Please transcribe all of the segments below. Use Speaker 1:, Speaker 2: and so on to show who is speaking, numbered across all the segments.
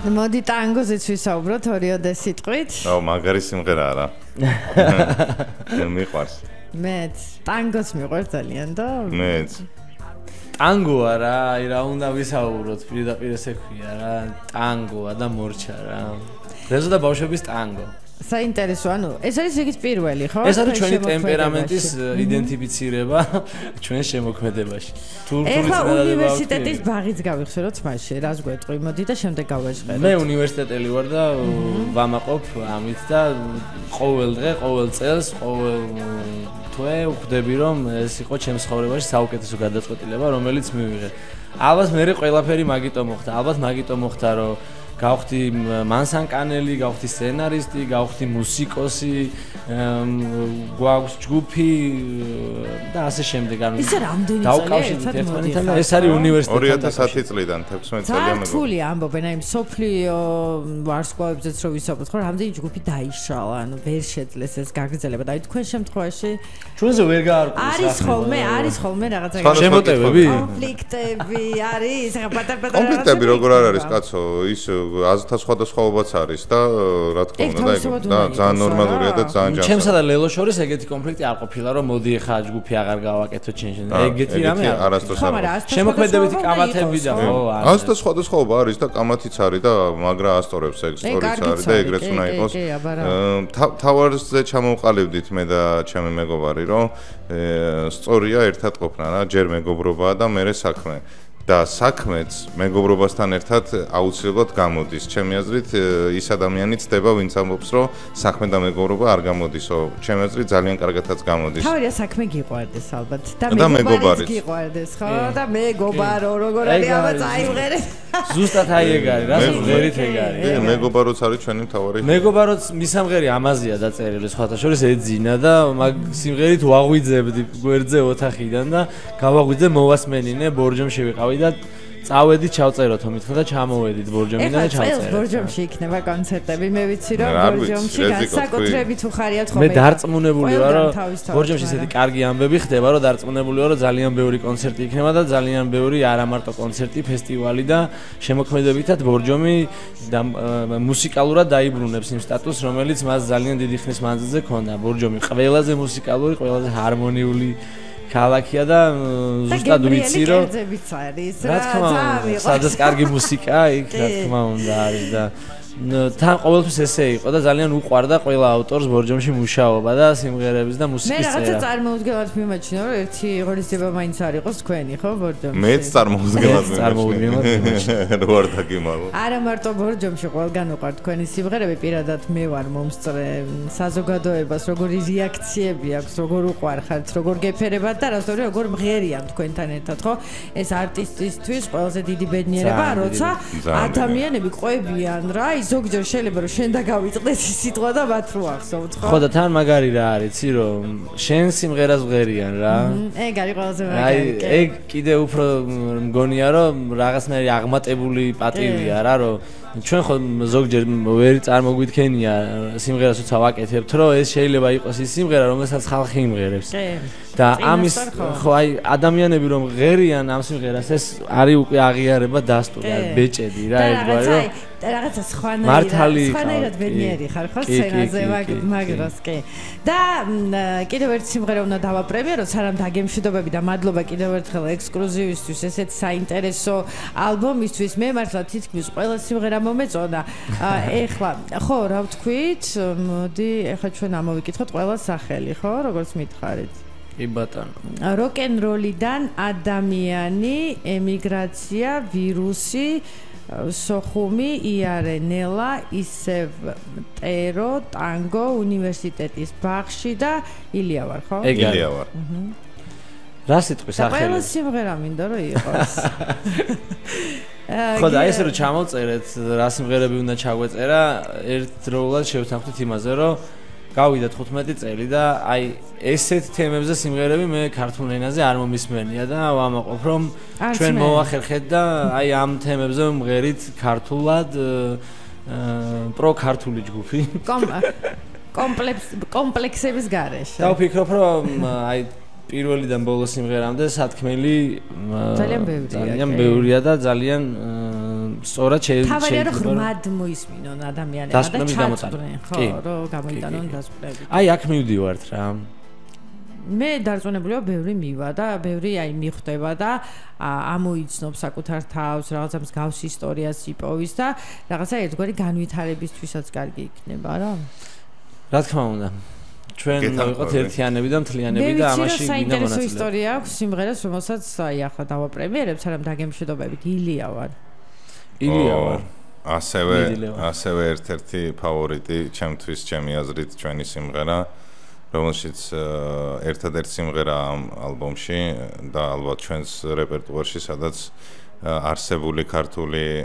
Speaker 1: მოდი ტანგოზეც ვისაუბროთ ორიოდე სიტყვით.
Speaker 2: მაგარი სიმღერაა რა. მიყვარს.
Speaker 1: მეც ტანგოს მიყვარს ძალიან და
Speaker 3: მეც. ტანგოა რა, რა უნდა ვისაუბროთ, პირდაპირ ესე ქვია რა, ტანგოა და მორჩა რა. რეზო და ბავშვების ტანგო.
Speaker 1: საინტერესო, ანუ ეს არის რიგით პირველი, ხო?
Speaker 3: ეს არის ჩვენი ტემპერამენტის იდენტიფიცირება ჩვენ შემოქმედებაში.
Speaker 1: ეხლა უნივერსიტეტის ბაღიც გავიხსენოთ მასში, რას გვეტყვი, მოდი და შემდეგ გავაჟღეროთ.
Speaker 3: მე უნივერსიტეტელი ვარ და ვამაყობ ამით და ყოველ დღე, ყოველ წელს, ყოველ თვე ვხვდები რომ ეს იყო ჩემს ცხოვრებაში საუკეთესო გადაწყვეტილება, რომელიც მივიღე. ალბათ მე ყველაფერი მაგიტომ მოხდა, ალბათ მაგიტომ მოხდა რომ გავხდი მანსანკანელი, გავხდი სცენარისტი, გავხდი მუსიკოსი, გვაქვს ჯგუფი და ასე შემდეგ. ანუ
Speaker 1: ისე რამდენი წელია?
Speaker 3: ეს არის უნივერსიტეტი
Speaker 2: 2010 წლიდან 16 წელია მეგობრებო.
Speaker 1: რთული ამბობენ, აი სოფლიო ვარსკვლავებზეც რო ვისაუბროთ, ხო, რამდენი ჯგუფი დაიშალა, ანუ ვერ შეძლეს ეს გაგრძელება და აი თქვენ შემთხვევაში
Speaker 3: ჩვენზე ვერ გაარკვევს
Speaker 1: არის ხოლმე რაღაცა
Speaker 3: შემოტევები,
Speaker 1: კონფლიქტები არის, რა პატარ-პატარა
Speaker 2: კონფლიქტები როგორ არ არის კაცო, ის აზრთა სხვადასხვაობაც არის და რა თქმა უნდა და ძალიან ნორმალურია და ძალიან ჯანსაღია.
Speaker 3: ჩემსა და ლელოს შორის ეგეთი კონფლიქტი არ ყოფილა რომ მოდი ახლა ჯგუფი აღარ გავაკეთო ჩენში. ეგეთი რამე
Speaker 2: არასდროს არ არის.
Speaker 3: შემოქმედებითი კამათები და ხო
Speaker 2: არის. აზრთა სხვადასხვაობა არის და კამათიც არის და მაგრა ასტორებს ეგ სტორიც არის და ეგრეც უნდა იყოს. თავარზე ჩამოვყალიბდით მე და ჩემი მეგობარი რომ სწორია ერთად ყოფნა რა, ჯერ მეგობრობაა და მერე საქმე. და საქმეც მეგობრობასთან ერთად აუცილებლად გამოდის. ჩემი აზრით ის ადამიანი ცდება, ვინც ამბობს, რომ საქმე და მეგობრობა არ გამოდისო. ჩემი აზრით ძალიან კარგადაც გამოდის.
Speaker 1: თავია საქმე გიყვარდეს ალბათ და მეგობარიც გიყვარდეს, ხო? და მეგობარო, როგორ არის აბა წაიღერე.
Speaker 3: ზუსტად აი ეგ არის, რასაც ვერით ეგ არის.
Speaker 2: მეგობაროც არის ჩვენი მთავარი.
Speaker 3: მეგობაროც მისამღერი ამაზია დაწერილი სხვათა შორის ეძინა და მაგ სიმღერით ვაღვიძებდი გვერდზე ოთახიდან და გავაღვიძე მოვასმენინე ბორჯომში ვიყავი და წავედით ჩავწეროთ მითხა და ჩამოვედით ბორჯომიდან და ჩავწერეთ.
Speaker 1: ეს ბორჯომში იქნება კონცერტები, მე ვიცი რომ ბორჯომში განსაკუთრებით უხარიათ ხოლმე.
Speaker 3: მე დარწმუნებული ვარ რომ ბორჯომში ესეთი კარგი ამბები ხდება, რომ დარწმუნებული ვარ რომ ძალიან ბევრი კონცერტი იქნება და ძალიან ბევრი არა მარტო კონცერტი, ფესტივალი და შემოქმედებითად ბორჯომი მუსიკალურად დაიბრუნებს იმ სტატუსს, რომელიც მას ძალიან დიდი ხნის მანძილზე ჰქონდა. ბორჯომი ყველაზე მუსიკალური, ყველაზე ჰარმონიული ქალაქია და ზუსტად ვიცი რომ რა თქმა უნდა სადაც კარგი მუსიკა იქ რა თქმა უნდა არის და თან ყოველთვის ესე იყო და ძალიან უყვარდა ყველა ავტორს ბორჯომში მუშაობა და სიმღერების და მუსიკის წერა.
Speaker 1: მე რაღაცა წარმოუდგენლად მიმაჩნია რომ ერთი ღონისძიება მაინც არ იყოს თქვენი ხო ბორჯომში.
Speaker 2: მეც წარმოუდგენლად მიმაჩნია. რო არ დაგიმალო.
Speaker 1: არა მარტო ბორჯომში ყველგან უყვართ თქვენი სიმღერები, პირადად მე ვარ მომსწრე საზოგადოებას, როგორი რეაქციები აქვს, როგორ უყვარხართ, როგორ გეფერებათ და რასწორია როგორ მღერიან თქვენთან ერთად ხო? ეს არტისტისთვის ყველაზე დიდი ბედნიერებაა, როცა ადამიანები ყვებიან რა ზოგჯერ შეიძლება რომ შენ და გავიწყდეს ის სიტყვა და მათ რო ახსოვთ ხო?
Speaker 3: ხო და თან მაგარი რა არის, იცი რომ შენ სიმღერას ვღერიან რა.
Speaker 1: ეგ არის ყველაზე მაგარი.
Speaker 3: აი ეგ კიდე უფრო მგონია რომ რაღაცნაირი აღმატებული პატივია რა, რომ ჩვენ ხო ზოგჯერ ვერ წარმოგვითქენია სიმღერას როცა ვაკეთებთ, რომ ეს შეიძლება იყოს ის სიმღერა, რომელსაც ხალხი იმღერებს. და ამის ხო აი ადამიანები რომ ღერიან ამ სიმღერას, ეს არის უკვე აღიარება დასტური, არის ბეჭედი რა ერთგვარი რომ
Speaker 1: რაღაცა სხვანაირად ბედნიერი ხარ ხო სცენაზე მაგრას კი. და კიდევ ერთი სიმღერა უნდა დავაპრემიეროთ, სანამ დაგემშვიდობები და მადლობა კიდევ ერთხელ ექსკლუზივისთვის ესეთ საინტერესო ალბომისთვის. მე მართლა თითქმის ყველა სიმღერა მომეწონა. ეხლა ხო რა ვთქვით, მოდი ეხლა ჩვენ ამოვიკითხოთ ყველა სახელი ხო, როგორც მითხარით.
Speaker 3: კი ბატონო.
Speaker 1: როკ-ენ-როლიდან ადამიანი, ემიგრაცია, ვირუსი, სოხუმი, იარე, ნელა, ისევ ტერო, ტანგო, უნივერსიტეტის ბაღში და ილია ვარ, ხო?
Speaker 2: ილია ვარ.
Speaker 3: რა სიტყვის სახელი?
Speaker 1: ყველა სიმღერა მინდა რომ იყოს.
Speaker 3: ხო და ესე რომ ჩამოვწერეთ რა სიმღერები უნდა ჩაგვეწერა, ერთდროულად შევთანხმდით იმაზე, რომ გავიდა 15 წელი და აი ესეთ თემებზე სიმღერები მე ქართულ ენაზე არ მომისმენია და ვამაყობ რომ ჩვენ მოვახერხეთ და აი ამ თემებზე მღერით ქართულად პრო-ქართული ჯგუფი
Speaker 1: კომპლექსების გარეშე.
Speaker 3: და ვფიქრობ რომ აი პირველიდან ბოლოს სიმღერამდე სათქმელი ძალიან ბევრია და ძალიან სწორად
Speaker 1: შეიძლება ღრმად მოისმინონ ადამიანებმა და ჩაწვრენ, ხო, რომ გამოიტანონ დასკვნები.
Speaker 3: აი აქ მივდივართ რა.
Speaker 1: მე დარწმუნებულია ბევრი მივა და ბევრი მიხვდება და ამოიცნობს საკუთარ თავს, რაღაცა მსგავს ისტორიას იპოვის და რაღაცა ერთგვარი განვითარებისთვისაც კარგი იქნება რა.
Speaker 3: რა თქმა უნდა. ჩვენ ვიყოთ ერთიანები და მთლიანები და ამაში გინდა მონაწილეობა.
Speaker 1: საინტერესო ისტორია აქვს სიმღერას, რომელსაც აი ახლა დავაპრემიერებ, სანამ დაგემშვიდობებით ილია ვარ.
Speaker 2: ასევე ერთ-ერთი ფავორიტი ჩემთვის, ჩემი აზრით, ჩვენი სიმღერა, რომელშიც ერთადერთი სიმღერა ამ ალბომში და ალბათ ჩვენს რეპერტუარში, სადაც არსებული ქართული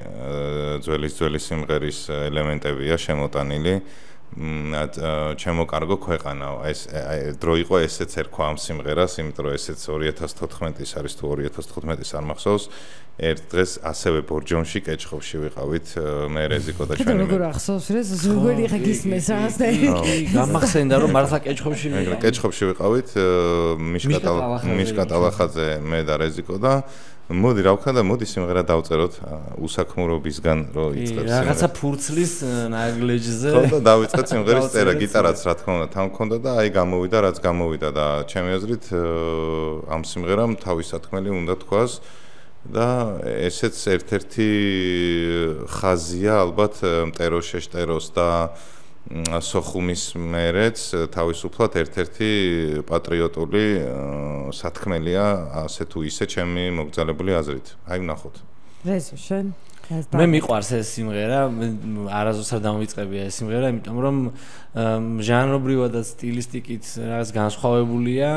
Speaker 2: ძველი სიმღერის ელემენტებია შემოტანილი. ჩემო კარგო ქვეყანაო. ეს დრო იყო ესეც ერქვა ამ სიმღერას, იმიტომ რომ ესეც 2014-ის არის თუ 2015-ის არ მახსოვს. ერთ დღეს ასევე ბორჯომში კეჭხობში ვიყავით მე რეზიკო და ჩვენი.
Speaker 1: როგორ ახსოვს ეს ზოგიერთი ხა გისმეს რაღაც და
Speaker 3: გამახსენდა რომ მართლა კეჭხობში
Speaker 2: ვიყავით მიშკა ტალახაძე მე და რეზიკო და მოდი რა ვქნა და მოდი სიმღერა დავწეროთ უსაქმურობისგან რომ იწყებს
Speaker 3: რაღაცა ფურცლის ნაგლეჯზე
Speaker 2: და დავიწყეთ სიმღერის წერა გიტარაც რა თქმა უნდა თან მქონდა და აი გამოვიდა რაც გამოვიდა და ჩემი აზრით ამ სიმღერამ თავის სათქმელი უნდა თქვას და ესეც ერთ-ერთი ხაზია ალბათ მტეროშეშტეროს და სოხუმის მერეც თავისუფლად ერთ-ერთი პატრიოტული სათქმელია ასე თუ ისე ჩემი მოგზალებული აზრით. აი ვნახოთ.
Speaker 1: რეზო შენ
Speaker 3: მე მიყვარს ეს სიმღერა, არასდროს არ დამოვიწყებია ეს სიმღერა, იმიტომ რომ ჟანრობრივად და სტილისტიკით რაღაც განსხვავებულია.